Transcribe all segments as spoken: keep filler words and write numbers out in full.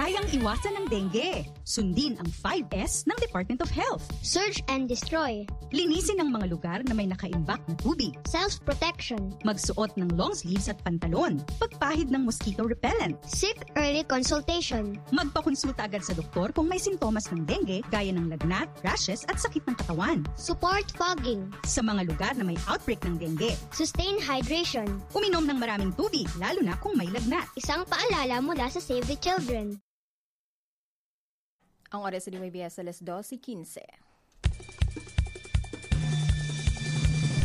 Kayang iwasan ang dengue. Sundin ang five S ng Department of Health. Search and destroy. Linisin ang mga lugar na may nakaimbak na tubig. Self-protection. Magsuot ng long sleeves at pantalon. Pagpahid ng mosquito repellent. Seek early consultation. Magpakonsulta agad sa doktor kung may sintomas ng dengue gaya ng lagnat, rashes at sakit ng katawan. Support fogging. Sa mga lugar na may outbreak ng dengue. Sustain hydration. Uminom ng maraming tubig, lalo na kung may lagnat. Isang paalala mula sa Save the Children. Ang oras sa D Y B S alas dose quince.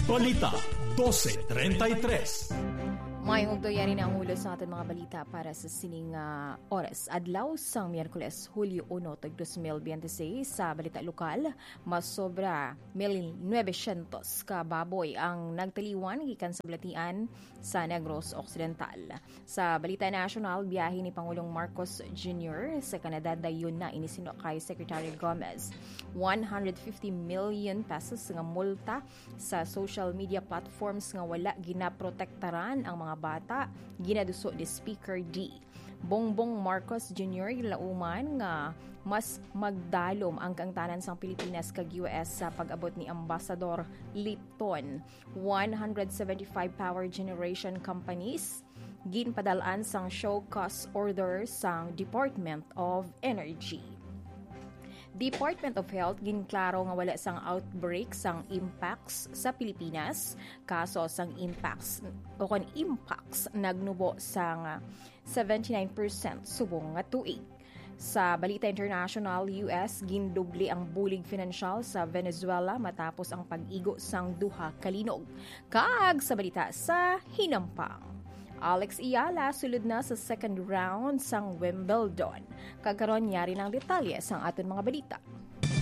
Balita dose treinta y tres. May ugto yari na ang ulo sa aton mga balita para sa sining, ah, oras. Adlaw sang Miyerkules, Hulyo uno, tag dos mil biyente seis, sa balita lokal, mas sobra mil nuebe syentos ka baboy ang nagtaliwan gikan sa balatian sa Negros Occidental. Sa balita nasyonal, biyahe ni Pangulong Marcos Junior sa Canada, dayon na ini sinuno kay Secretary Gomez. One hundred fifty million pesos nga multa sa social media platforms nga wala ginaprotektaran ang mga bata, ginaduso ni Speaker D. Bongbong Marcos Junior ginlauman nga mas magdalom ang kaangtanan sang Pilipinas kag U S sa pag-abot ni Ambassador Lipton. One hundred seventy-five power generation companies ginpadal-an sang show cause order sang Department of Energy. Department of Health ginklaro nga wala sang outbreak sang Mpox sa Pilipinas. Kaso sang Mpox o kon Mpox nagnubo sang seventy-nine percent subong nga tuig. Sa balita international, U S gindubli ang bulig finansyal sa Venezuela matapos ang pag-igo sang duha ka linog. Kag sa balita sa hinampang, Alex Eala sulod na sa second round sang Wimbledon. Kag karon, yari na ang detalye sang aton mga balita.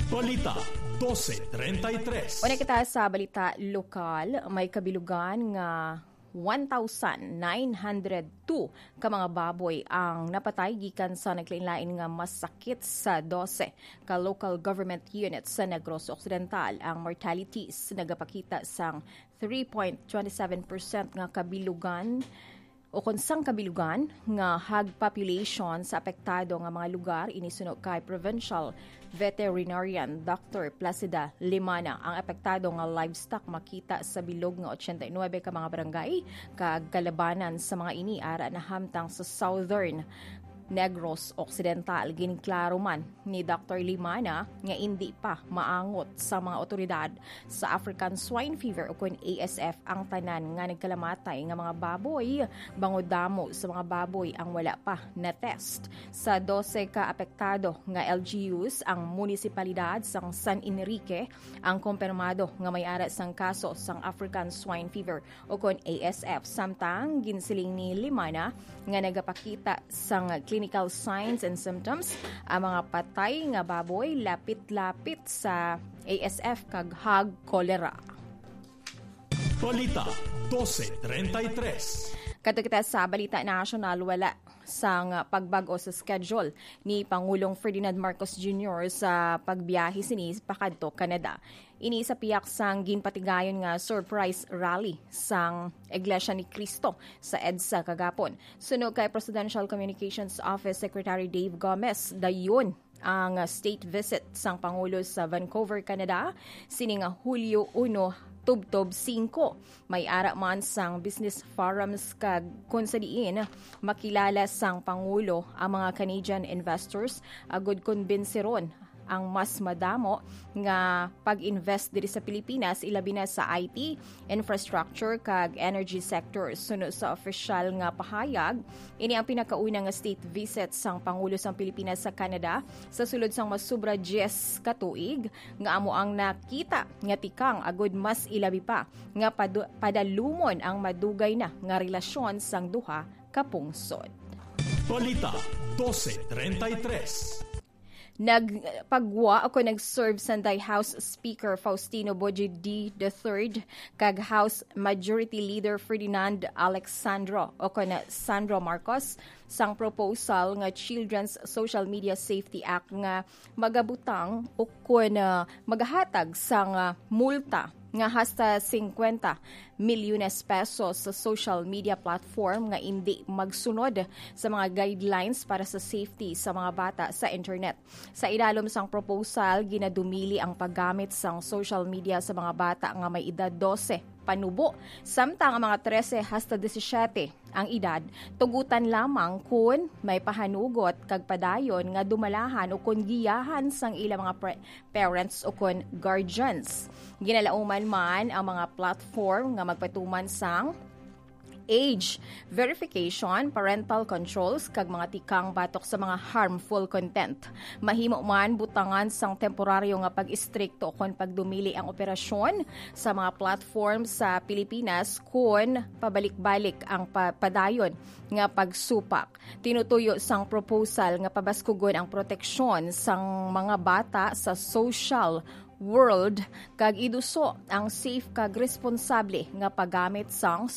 Balita dose treinta y tres. Una kita sa balita lokal, may kabilugan nga one thousand nine hundred two ka mga baboy ang napatay gikan sa naglain-lain nga masakit sa dose ka local government units sa Negros Occidental. Ang mortalities nagapakita sang three point twenty seven percent nga kabilugan o kon sang kabilugan nga hog population sa apektado nga mga lugar, ini suno kay Provincial Veterinarian Doctor Placida Limana. Ang apektado nga livestock makita sa bilog nga ochenta y nuebe ka mga barangay kag kalabanan sa mga ini ara nahamtang sa Southern Negros Occidental. Ginklaro man ni Doctor Limana nga indi pa maangot sa mga otoridad sa African Swine Fever o kon A S F ang tanan nga nagkalamatay nga mga baboy, bangod damo sa mga baboy ang wala pa na-test. Sa dose ka apektado nga L G Us, ang munisipalidad sang San Enrique ang kumpirmado nga may ara sang kaso sang African Swine Fever o kon A S F. Samtang ginsiling ni Limana nga nagapakita sang clinical signs and symptoms ang mga patay nga baboy lapit-lapit sa A S F kag hog cholera. Balita dose treinta y tres. Kadto kita sa balita nasyonal, wala sang pagbag-o sa schedule ni Pangulong Ferdinand Marcos Junior sa pagbiyahe sini pakadto Canada. Ini sa pihak sang ginpatigayon nga surprise rally sang Iglesia ni Cristo sa EDSA kagapon. Suno kay Presidential Communications Office Secretary Dave Gomez, dayon ang state visit sang Pangulo sa Vancouver, Canada, sining Hulyo uno tubtob singko. May ara man sang business forums kag kon sa diin makilala sang Pangulo ang mga Canadian investors agud kumbinsiron ang mas madamo nga pag-invest diri sa Pilipinas, ilabi na sa I T, infrastructure, kag energy sector. Suno sa opisyal nga pahayag, ini ang pinakauna nga state visit sang Pangulo sang Pilipinas sa Canada sa sulod sang mas sobra diyes ka tuig, nga amo ang nakita nga tikang agud mas ilabi pa nga padu-, padalumon ang madugay na nga relasyon sang duha ka pungsod. Balita dose treinta y tres. Nagpagwa o kon nag-serve sanday House Speaker Faustino Boji D the third kag House Majority Leader Ferdinand Alexandro o kon Sandro Marcos sang proposal nga Children's Social Media Safety Act nga magabutang o kon, ah, magahatag sang, ah, multa nga hasta singkwenta milyones pesos sa social media platform nga indi magsunod sa mga guidelines para sa safety sa mga bata sa internet. Sa ilalom sang proposal, ginadumili ang paggamit sang social media sa mga bata nga may edad dose panubo, samtang ang mga trese hasta disisiete ang edad, tugutan lamang kon may pahanugot kag padayon nga dumalahan o kon giyahan sang ila mga pre-, parents o kon guardians. Ginalauman man ang mga platform nga magpatuman sang age verification, parental controls, kag mga tikang batok sa mga harmful content. Mahimo man butangan sang temporaryo nga pag-istrikto kon pagdumili ang operasyon sa mga platform sa Pilipinas kon pabalik-balik ang pa-, padayon nga pagsupak. Tinutuyo sang proposal nga pabaskugon ang proteksyon sang mga bata sa social world kag iduso ang safe kag responsable nga paggamit sang